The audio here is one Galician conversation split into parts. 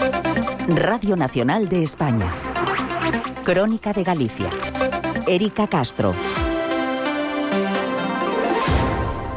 Radio Nacional de España. Crónica de Galicia. Érica Castro.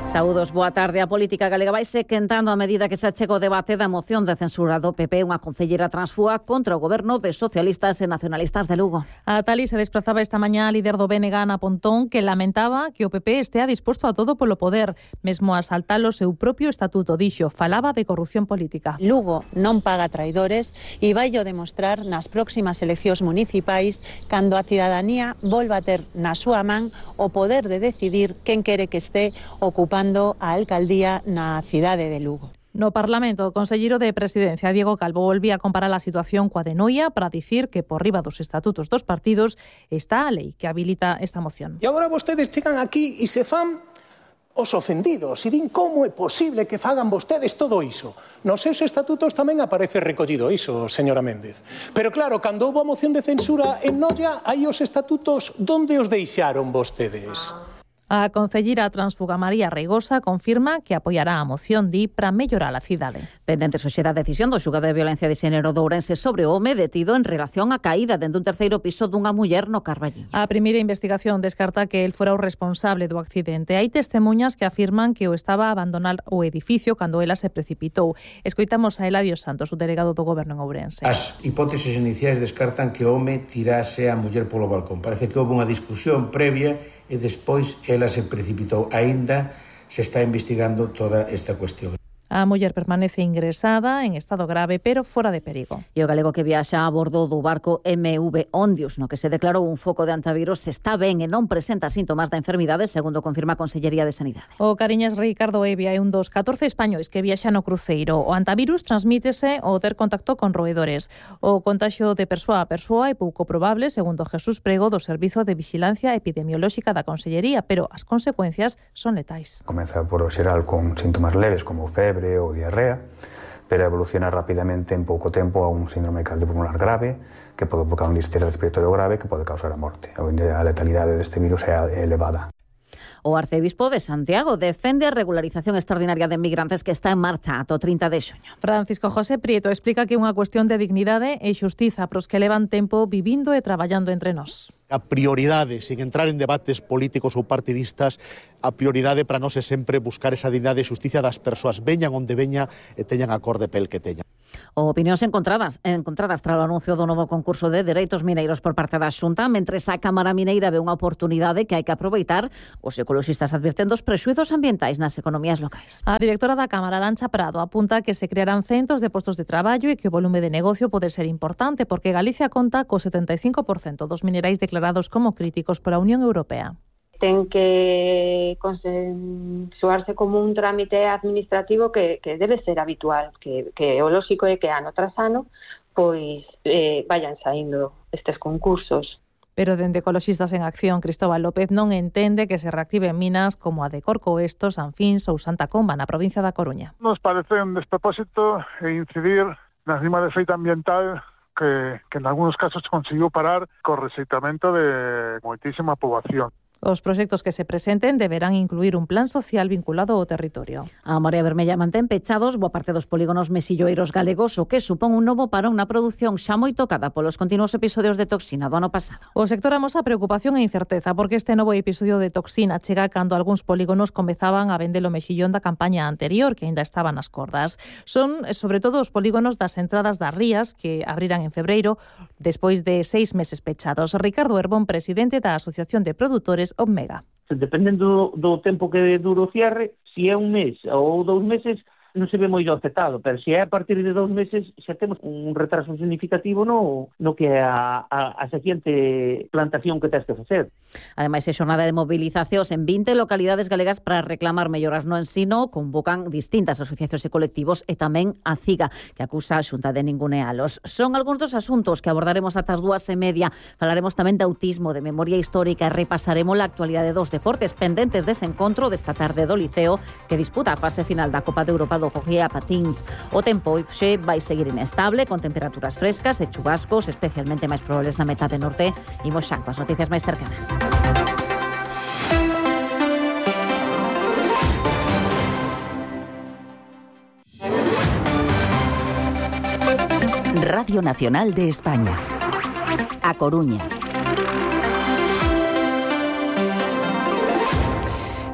Saúdos, boa tarde. A política galega vaise quentando a medida que se achega o debate da moción de censura do PP, unha concelleira transfúa contra o goberno de socialistas e nacionalistas de Lugo. A Tali se desplazaba esta mañá a líder do BNG, Ana Pontón, que lamentaba que o PP estea disposto a todo polo poder, mesmo a saltar o seu propio estatuto. Dixo, falaba de corrupción política. Lugo non paga traidores e vaillo demostrar nas próximas eleccións municipais cando a cidadanía volva a ter na súa man o poder de decidir quen quere que este ocupando a alcaldía na cidade de Lugo. No Parlamento, o conselleiro de Presidencia, Diego Calvo, volvía a comparar a situación coa de Noia para dicir que por riba dos estatutos dos partidos está a lei que habilita esta moción. E agora vostedes chegan aquí e se fan os ofendidos e din como é posible que fagan vostedes todo iso. Nos seus estatutos tamén aparece recollido iso, señora Méndez. Pero claro, cando houve a moción de censura en Noia, aí os estatutos, onde os deixaron vostedes? A concelleira transfuga María Reigosa confirma que apoiará a moción para mellorar a cidade. Pendente hoxe da decisión do xulgado de violencia de xénero de Ourense sobre o home detido en relación á caída dende un terceiro piso dunha muller no Carballiño. A primeira investigación descarta que el fora o responsable do accidente. Hai testemuñas que afirman que o estaba a abandonar o edificio cando ela se precipitou. Escoitamos a Eladio Santos, o delegado do Goberno en Ourense. As hipóteses iniciais descartan que o home tirase a muller polo balcón. Parece que houve unha discusión previa e despois ela se precipitou. Aínda se está investigando toda esta cuestión. A muller permanece ingresada en estado grave, pero fora de perigo. E o galego que viaxa a bordo do barco MV Ondius, no que se declarou un foco de antivirus, está ben e non presenta síntomas da enfermidade, segundo confirma a Consellería de Sanidade. O Cariñas Ricardo Evia é un dos 14 españois que viaxan no cruceiro. O antivirus transmítese ao ter contacto con roedores. O contaxio de persoa a persoa é pouco probable, segundo Jesús Prego, do Servizo de Vigilancia Epidemiolóxica da Consellería, pero as consecuencias son letais. Comeza por o xeral con síntomas leves como febre ou diarrea, pero evoluciona rapidamente en pouco tempo a un síndrome cardiopulmonar grave que pode provocar un distíria respiratorio grave que pode causar a morte. A letalidade deste virus é elevada. O arcebispo de Santiago defende a regularización extraordinaria de migrantes que está en marcha ata o 30 de xuño. Francisco José Prieto explica que é unha cuestión de dignidade e xustiza pros que levan tempo vivindo e traballando entre nós. A prioridade, sin entrar en debates políticos ou partidistas, a prioridade para nós é sempre buscar esa dignidade e xusticia das persoas, veñan onde veña e teñan a cor de pel que teñan. Opinións encontradas tras o anuncio do novo concurso de dereitos mineiros por parte da Xunta, mentres a Cámara Mineira ve unha oportunidade que hai que aproveitar. Os ecoloxistas advirten dos prexuizos ambientais nas economías locais. A directora da Cámara, Arancha Prado, apunta que se crearán centos de postos de traballo e que o volume de negocio pode ser importante porque Galicia conta co 75% dos minerais declarados como críticos pola Unión Europea. Ten que consensuarse como un trámite administrativo que debe ser habitual, que o lóxico é que ano tras ano pois vayan saindo estes concursos. Pero dende Ecoloxistas en Acción, Cristóbal López non entende que se reactiven minas como a de Corcoesto, Sanfins ou Santa Comba na provincia da Coruña. Nos parece un despropósito incidir na rima de feita ambiental que en algúns casos conseguiu parar co rexeitamento de moitísima poboación. Os proxectos que se presenten deberán incluir un plan social vinculado ao territorio. A Marea Vermella mantén pechados boa parte dos polígonos mesilloeiros galegos, o que supón un novo parón na produción xa moi tocada polos continuos episodios de toxina do ano pasado. O sector amosa preocupación e incerteza porque este novo episodio de toxina chega cando algúns polígonos comezaban a vender o mexillón da campaña anterior, que aínda estaba nas cordas. Son, sobre todo, os polígonos das entradas das rías que abriran en febreiro, despois de 6 meses pechados. Ricardo Herbón, presidente da Asociación de Produtores Omega. Dependendo do tempo que dura o cierre, se é un mes ou 2 meses, non se ve moi afectado, pero se é a partir de 2 meses xa temos un retraso significativo no que é a seguinte plantación que tens que facer. Ademais, é xornada de mobilizacións en 20 localidades galegas para reclamar melloras no ensino. Convocan distintas asociacións e colectivos e tamén a CIGA, que acusa a Xunta de ningunealos. Son algúns dos asuntos que abordaremos ata as 2:30. Falaremos tamén de autismo, de memoria histórica e repasaremos a actualidade dos deportes pendentes dese encontro desta tarde do Liceo que disputa a fase final da Copa de Europa do hockey a patins. O tempo hoxe vai seguir inestable, con temperaturas frescas e chubascos, especialmente máis probables na metade norte. Imos xa coas noticias máis cercanas. Radio Nacional de España. A Coruña.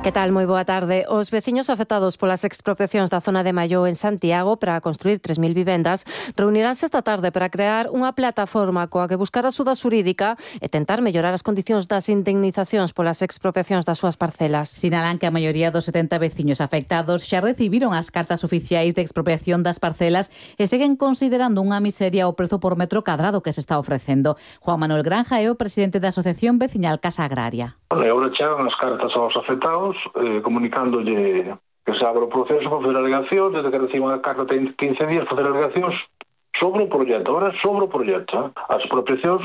Que tal? Moi boa tarde. Os veciños afectados polas expropiacións da zona de Malló en Santiago para construir 3.000 vivendas reuniránse esta tarde para crear unha plataforma coa que buscar axuda xurídica e tentar mellorar as condicións das indemnizacións polas expropiacións das súas parcelas. Sinalan que a maioría dos 70 veciños afectados xa recibiron as cartas oficiais de expropiación das parcelas e seguen considerando unha miseria o prezo por metro cadrado que se está ofrecendo. Juan Manuel Granja é o presidente da Asociación Veciñal Casa Agraria. Agora chegan as cartas aos afectados comunicándolle que se abre o proceso para facer alegacións, desde que reciban a carta ten 15 días para facer alegacións sobre o proxecto. Agora sobre o proxecto. As expropiacións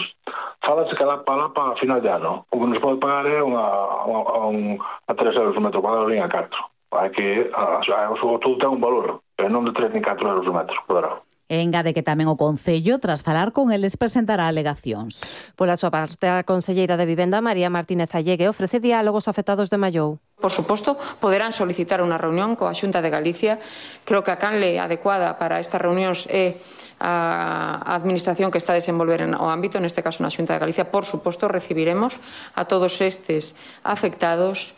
falase que lá para final de ano. O que nos pode pagar é a 3 euros o metro cuadrado nem a 4. Hai que, todo ten un valor, pero non de 3 ni 4 euros o metro cuadrado. Engade que tamén o Concello, tras falar con eles, presentará alegacións. Pola súa parte, a conselleira de Vivenda, María Martínez Allegue, ofrece diálogos afectados de Mallou. Por suposto, poderán solicitar unha reunión coa Xunta de Galicia. Creo que a canle adecuada para estas reunións é a administración que está a desenvolver o ámbito, neste caso na Xunta de Galicia. Por suposto, recibiremos a todos estes afectados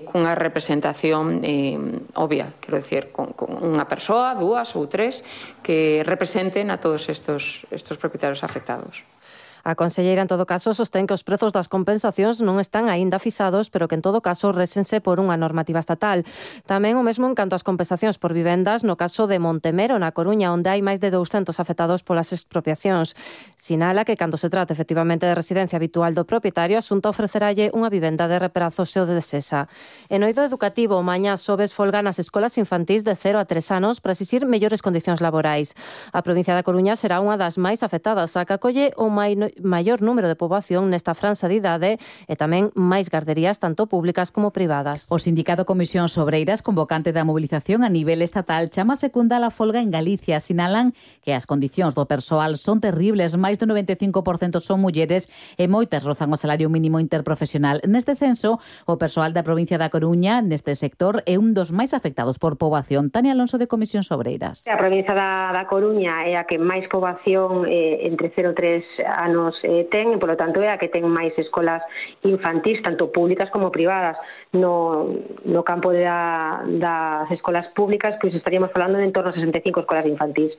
cunha representación obvia, quero dicir, con unha persoa, 2 ou 3 que representen a todos estos propietarios afectados. A conselleira, en todo caso, sostén que os prezos das compensacións non están aínda fixados, pero que en todo caso résense por unha normativa estatal. Tamén o mesmo en canto ás compensacións por vivendas no caso de Montemero, na Coruña, onde hai máis de 200 afectados polas expropiacións. Sinala que cando se trata efectivamente de residencia habitual do propietario, a Xunta ofreceralle unha vivenda de reparazo se o desesa. En oído educativo, mañá xoves folga nas escolas infantís de 0 a 3 anos para exixir mellores condicións laborais. A provincia da Coruña será unha das máis afectadas, a que acolle o maior número de poboación nesta franxa de idade e tamén máis garderías tanto públicas como privadas. O Sindicato Comisións Obreiras, convocante da movilización a nivel estatal, chama secunda a folga en Galicia. Sinalan que as condicións do persoal son terribles, máis do 95% son mulleres e moitas rozan o salario mínimo interprofesional. Neste senso, o persoal da provincia da Coruña neste sector é un dos máis afectados por poboación. Tania Alonso, de Comisións Obreiras. A provincia da Coruña é a que máis poboación entre 0 e 3 anos ten, e, polo tanto, é a que ten máis escolas infantís, tanto públicas como privadas. No campo das escolas públicas, pois estaríamos falando de en torno a 65 escolas infantís.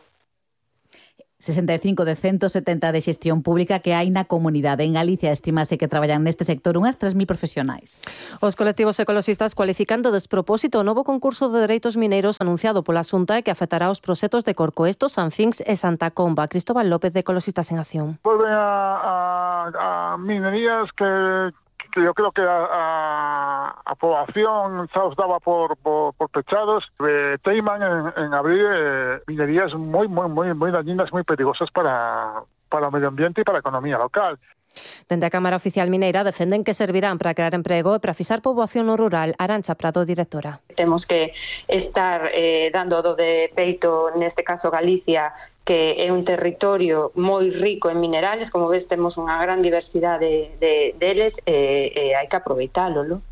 65 de 170 de xestión pública que hai na comunidade. En Galicia estimase que traballan neste sector unhas 3.000 profesionais. Os colectivos ecoloxistas cualifican de despropósito o novo concurso de dereitos mineiros anunciado pola Xunta e que afectará os proxectos de Corcoesto, Sanfinx e Santa Comba. Cristóbal López, de Ecoloxistas en Acción. Volven a minerías que yo creo que a población xa os daba por pechados. Teiman en abrir minerías moi dañinas, moi perigosas para o medio ambiente e para a economía local. Dende a Cámara Oficial Mineira defenden que servirán para crear emprego e para fixar poboación no rural. Arantxa Prado, directora. Temos que estar dando do de peito, neste caso Galicia, que é un territorio moi rico en minerales, como ves, temos unha gran diversidade deles e hai que aproveitalo, non?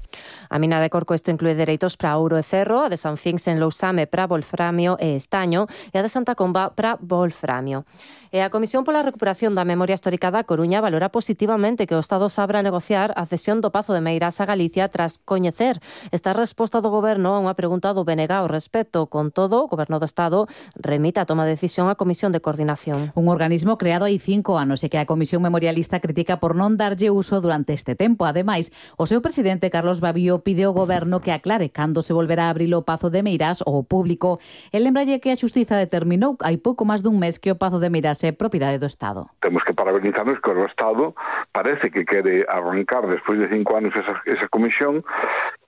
A mina de Corcoesto inclúe dereitos para ouro e ferro, a de Sanfinx en Lousame para wolframio e estaño e a de Santa Comba para wolframio. E a Comisión pola Recuperación da Memoria Histórica da Coruña valora positivamente que o Estado se abra a negociar a cesión do Pazo de Meirás a Galicia tras coñecer esta resposta do Goberno a unha pregunta do BNG ao respecto. Con todo, o Goberno do Estado remite a toma de decisión á Comisión de Coordinación. Un organismo creado hai 5 anos e que a Comisión Memorialista critica por non darlle uso durante este tempo. Ademais, o seu presidente, Carlos Babío, pide ao Goberno que aclare cando se volverá a abrir o Pazo de Meirás ao público. E lembralle que a Xustiza determinou hai pouco máis dun mes que o Pazo de Meirás é propiedade do Estado. Temos que parabenizarnos que o Estado parece que quere arrancar despois de 5 anos esa comisión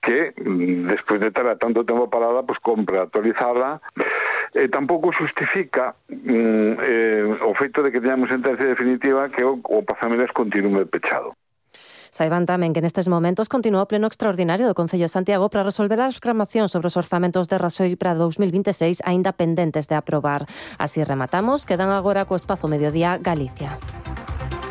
que, despois de ter tanto tempo parada, pues compra actualizarla. Tampouco justifica o feito de que teñamos sentencia definitiva que o Pazo de Meirás continúe pechado. Saiban tamén que nestes momentos continúa o pleno extraordinario do Concello de Santiago para resolver as reclamacións sobre os orzamentos de Raxoi para 2026 aínda pendentes de aprobar. Así rematamos, quedan agora co Espazo Mediodía Galicia.